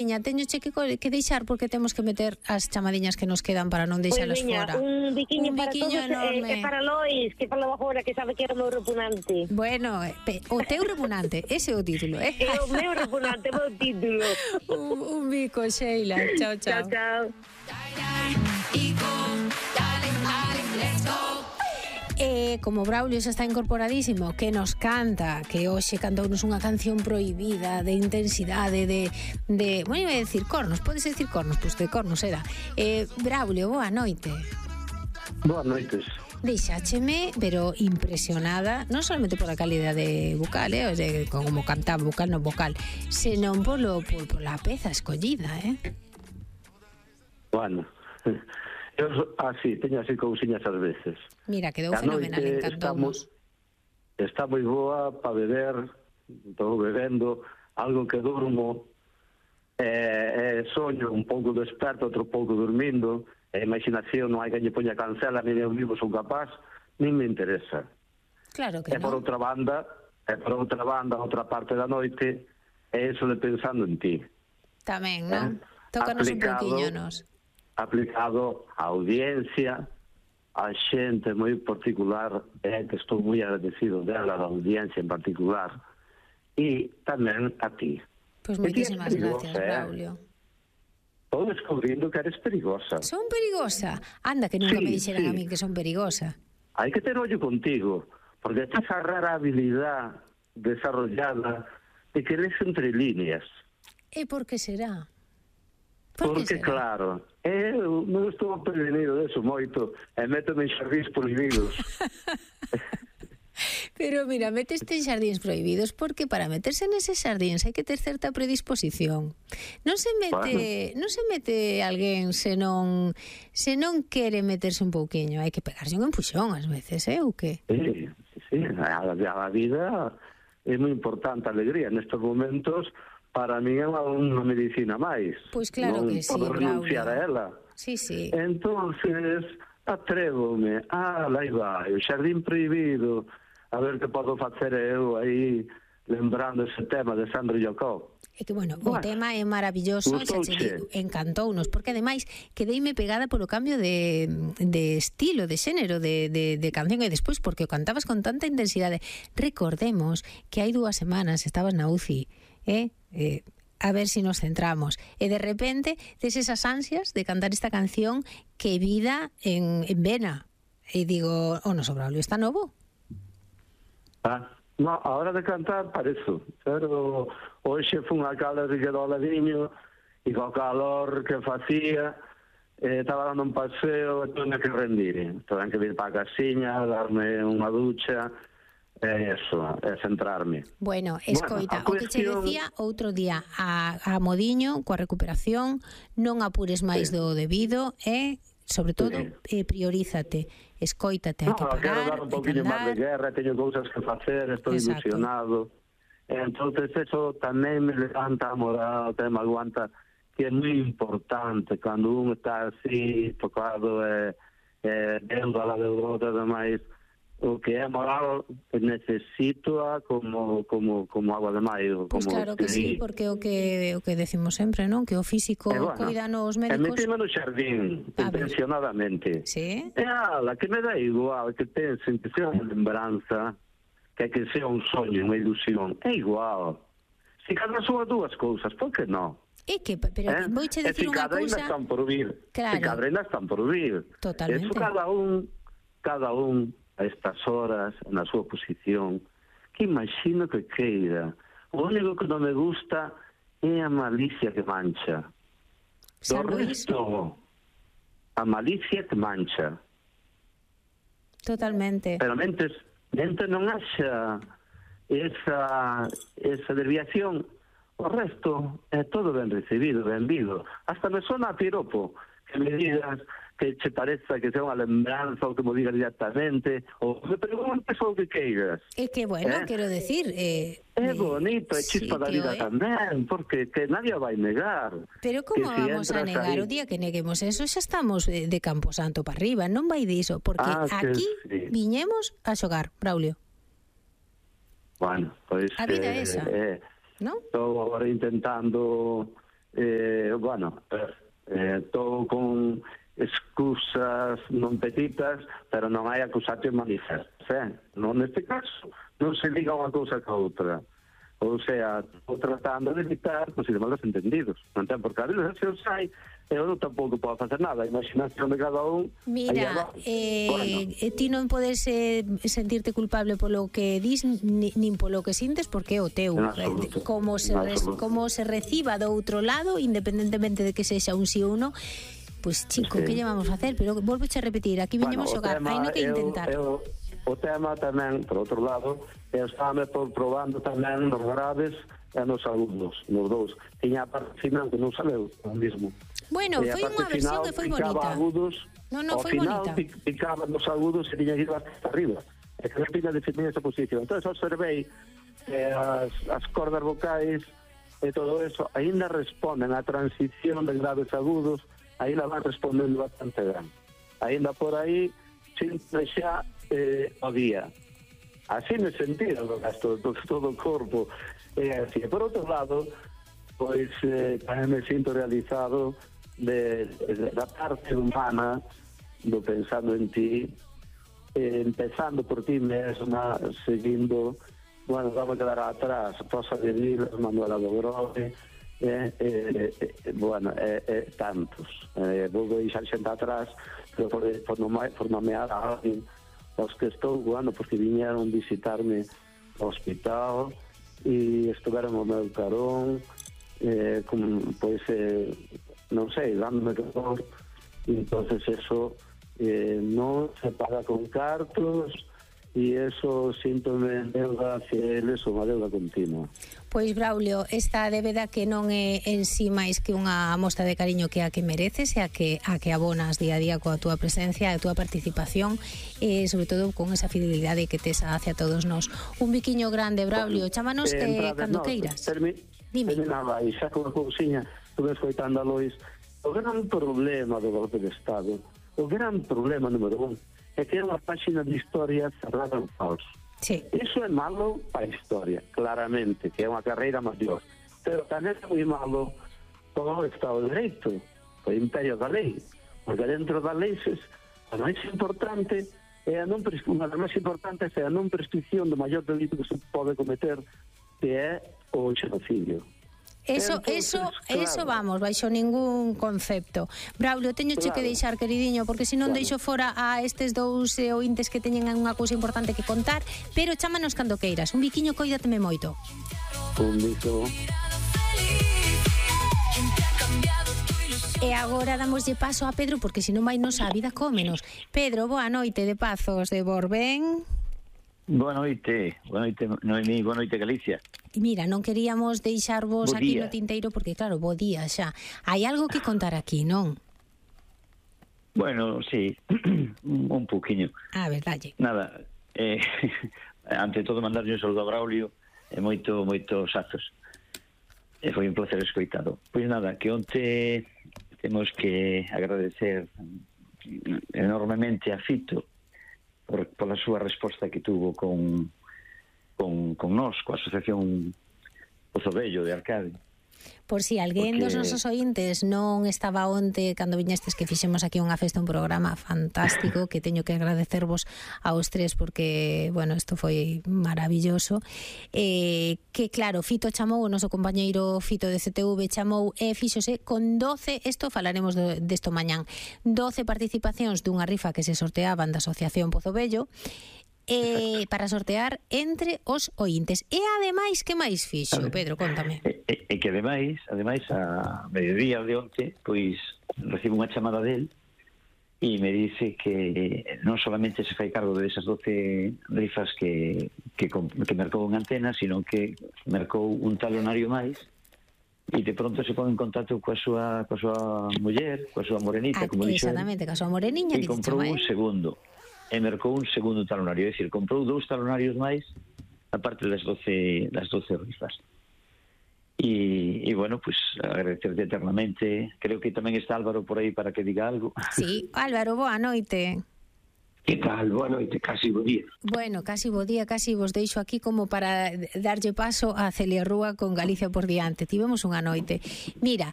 Teño que deixar porque temos que meter as chamadiñas que nos quedan para non deixalas fora. Un biquiño para todos enorme. e para Lois, que falou agora que sabe que era o meu repugnante. Bueno, o teu repugnante, ese é o título, É o meu repugnante, o meu título. un bico, Sheila. Chao, chao. Chao, chao. Como Braulio xa está incorporadísimo, que nos canta, que hoxe cantounos unha canción prohibida de intensidade, bueno, iba a decir cornos, podes decir cornos, pois de cornos era. Braulio, boa noite. Boas noites. Deixácheme, pero impresionada, non solamente pola calidade vocal, o sea, como cantaba vocal non vocal, senón pola peza escollida, Bueno, eu teño así cousiñas ás veces. Mira, quedou fenomenal, encantounos. Está moi boa para beber, estou bebendo, algo que durmo, soño un pouco desperto, outro pouco dormindo, a imaginación non hai que lle poña cancela, nin eu vivo son capaz, nin me interesa. Claro que non. Por outra banda, outra parte da noite, é eso de pensando en ti. Tamén, non? Tócanos un pouquiño nos. Aplicado á audiencia, a xente moi particular, que estou moi agradecido dela, da audiencia en particular, e tamén a ti. Pois moitísimas gracias, Braulio. Estou descubrindo que eres perigosa. Son perigosa? Anda, que nunca me dixeran a mí que son perigosa. Hai que ter ollo contigo, porque esta esa rara habilidad desarrollada de que lees entre líneas. E por que será? Porque, claro, eu non estou prevenido deso moito e métome en xardíns prohibidos. Pero mira, meteste en xardíns prohibidos porque para meterse neses xardíns hai que ter certa predisposición. Non se mete alguén se non quere meterse un pouquiño, hai que pegarse un empuxón ás veces, ou que? Sí, a vida é moi importante, a alegría nestes momentos. Para mí é unha medicina máis. Pois claro que sí, Braulio. Non podo renunciar a ela. Sí. Entonces, atrévome. Aí vai, o xardín prohibido. A ver que podo facer eu aí, lembrando ese tema de Sandro Yokov. É que, bueno, o tema é maravilloso, encantounos, porque ademais quedeime pegada polo cambio de estilo, de xénero, de canción, e despois porque o cantabas con tanta intensidade. Recordemos que hai 2 semanas estabas na UCI, a ver si nos centramos, e de repente tes esas ansias de cantar esta canción que vida en vena, e digo, o noso Braulio está novo. No, a hora de cantar parezo, pero hoxe fun a calda de quedou ao ladiño e co calor que facía estaba dando un paseo e tuve que rendir, tuve que vir para a casiña, darme unha ducha. Eso, é centrarme. Bueno, escoita, o que che decía outro día a Modiño, coa recuperación, non apures máis do debido e, sobre todo, priorízate, escoítate, hai que parar, quero dar un poquinho máis de guerra, teño cousas que facer, estou ilusionado. Entonces, eso tamén me levanta a moral, tamén me aguanta, que é moi importante, cando un está así, tocado, vendo a la deudota e demais, o que é moral necesito como agua de maio. Pois claro que sí, porque o que decimos sempre, non? Que o físico cuidan os médicos. E metime no xardín, intencionadamente. Sí? Que me dá igual que pensen que sea unha lembranza, que sea un soño, unha ilusión. É igual. Se cada son as 2 cousas, por que non? Pero vouche decir unha cousa... Se cada están por vir. Claro. Se cada están por vir. Totalmente. Eso cada un a estas horas, na súa posición, que imagino que queira. O único que non me gusta é a malicia que mancha. Do resto, a malicia que mancha. Totalmente. Pero mentes non haxa esa desviación, o resto é todo ben recibido, ben vido. Hasta me sona a piropo que me digas que che pareza que sea unha lembranza ou que mo digas directamente ou me preguntes o que queiras. É que, bueno, quero decir... É bonito, é chispa da vida tamén, porque que nadie vai negar. Pero como vamos a negar? O día que neguemos eso xa estamos de Camposanto para arriba, non vai diso, porque aquí viñemos a xogar, Braulio. Bueno, pois... A vida é esa, non? Estou agora intentando bueno, todo con excusas non petitas, pero non hai acusatio manifestas, non neste caso non se liga unha cousa ca outra, ou sea, estou tratando de evitar posibles malos entendidos, non ten por que a legislación sai, eu non tampouco podo facer nada, a imaginación de cada un. Mira, ti non podes sentirte culpable polo que dis nin polo que sintes, porque é o teu, como se reciba do outro lado, independentemente de que sexa un sí ou non. Pois, chico, que lle vamos a hacer? Pero volvoche a repetir, aquí viñemos xogar, hai no que intentar. O tema tamén, por outro lado, estame probando tamén nos graves e nos agudos, nos dous. Tiña a parte final que non sabeu, o mismo. Bueno, foi unha versión que foi bonita. Agudos, no, foi bonita. Picaba nos agudos e tiña que ir hasta arriba. E que repita definir esa posición. Entón, observei as cordas vocais e todo eso, ainda responden a transición de graves agudos, aí la van respondendo bastante ben. Ainda por aí, sinto xa o día. Así me sentido do gasto todo o corpo. Así. Por outro lado, pois tamén me sinto realizado da parte humana do pensando en ti, empezando por ti mesma, seguindo, bueno, vamos a quedar atrás, Rosa de Vilas, Manuela do Grove, bueno, tantos. Vou deixar xente atrás, pero por nomear a alguén, os que estou, bueno, porque viñeron visitarme ao hospital e estuveron ao meu carón, pois, non sei, dándome calor, e entonces eso non se paga con cartos, e eso síntome en deuda hacia eles, unha deuda continua. Pois, Braulio, esta débeda que non é en sí máis que unha mostra de cariño que a que mereces e a que abonas día a día coa túa presencia e a túa participación, e sobre todo con esa fidelidade que tes hacia todos nós. Un biquiño grande, Braulio, chámanos cando queiras. Dime. Terminaba aí, xa con a cousiña, estuve escoitando a Lois. O gran problema do golpe de Estado, o gran problema número 1, é que é unha páxina de historia cerrada en falso. Sí. Iso é malo para a historia, claramente, que é unha carreira maior. Pero tamén é moi malo todo o Estado de Dereito, o imperio da lei, porque dentro da lei a máis importante é a non unha das máis importantes é a non prescripción do maior delito que se pode cometer, que é o xenocidio. Eso, vamos, baixo ningún concepto. Braulio, teñoche que deixar, queridinho, porque se non deixo fora a estes dous ointes que teñen unha cousa importante que contar, pero chámanos cando queiras. Un biquiño, coídateme moito. Un bico. E agora damoslle paso a Pedro, porque senón vai nos a vida cómenos. Pedro, boa noite de Pazos de Borbén. Boa noite, Noemí, boa noite, Galicia. Mira, non queríamos deixarvos aquí no tinteiro porque, claro, bo día xa. Hai algo que contar aquí, non? Bueno, sí, un pouquiño. A ver, dalle. Nada, ante todo mandarlle un saludo a Braulio e moitos azos. Foi un placer escoitado. Pois nada, que onte temos que agradecer enormemente a Fito pola súa resposta que tuvo con nós, coa Asociación Pozo Vello de Arcade. Por si alguén dos nosos ointes non estaba onte cando viñestes, que fixemos aquí unha festa, un programa fantástico que teño que agradecervos aos tres porque, bueno, isto foi maravilloso, que claro, Fito chamou, o noso compañeiro Fito de CTV chamou e fíxose con 12, isto falaremos desto mañán, 12 participacións dunha rifa que se sorteaban da Asociación Pozo Vello, para sortear entre os ointes. E ademais, que máis fixo, Pedro, contame. E que ademais a mediodía de onte, pois recibo unha chamada del e me dice que non solamente se fai cargo de esas 12 rifas que mercou en antena, sino que mercou un talonario máis e de pronto se pon en contacto coa súa muller, coa súa morenita, como dixo. Exactamente, coa súa moreniña, que comprou un segundo. E mercou un segundo talonario, é dicir, comprou 2 talonarios máis aparte das 12 rifas. E bueno, pues agradecerte eternamente. Creo que tamén está Álvaro por aí para que diga algo. Sí, Álvaro, boa noite. Que tal? Boa noite, casi bo día. Bueno, casi bo día, casi vos deixo aquí como para darlle paso a Celia Rúa con Galicia por diante. Tivemos unha noite. Mira,